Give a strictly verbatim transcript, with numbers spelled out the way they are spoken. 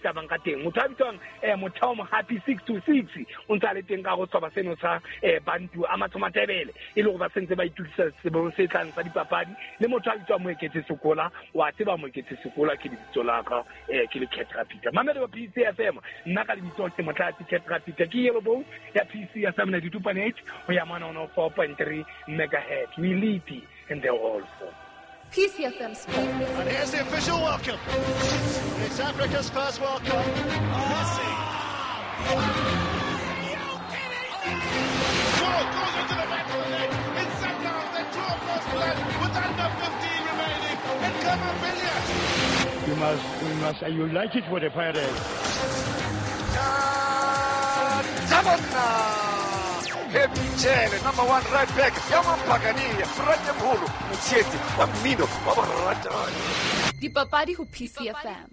tsamang ka teng. Motho a bitswang eh Mothao Mohapi six two six o ntse a le teng ka go sehlopha seno sa eh Bantu a Mathomatebele e le gore ba sentse ba itukisa sebong se tlang sa dipapadi. Le motho a bitswang Moeketse Sekola, wa tseba Moeketse Sekola ke lebitso la ka, eh ke le Cat Rapita. Mamelo wa P C F M, nna ka lebitso ke Motlatsi Cat Rapita, ke Yellow Bone ya P C F M ninety-two point eight ho ya mona one oh four point three megahertz. We lead in the all four. P C F M Sports. And here's the official welcome. It's Africa's first World Cup. Messi. Are you kidding me? Goal goes into the back of the net. It's Sundowns that draw first blood with under fifteen remaining. And Khama Billiat. You must, you must, you like it for the Pirates. Hemchele, number one right back, Yamampagani, Fratemholo, Motsheti, wa mmino wa boratani. Dipapadi ho P C F M.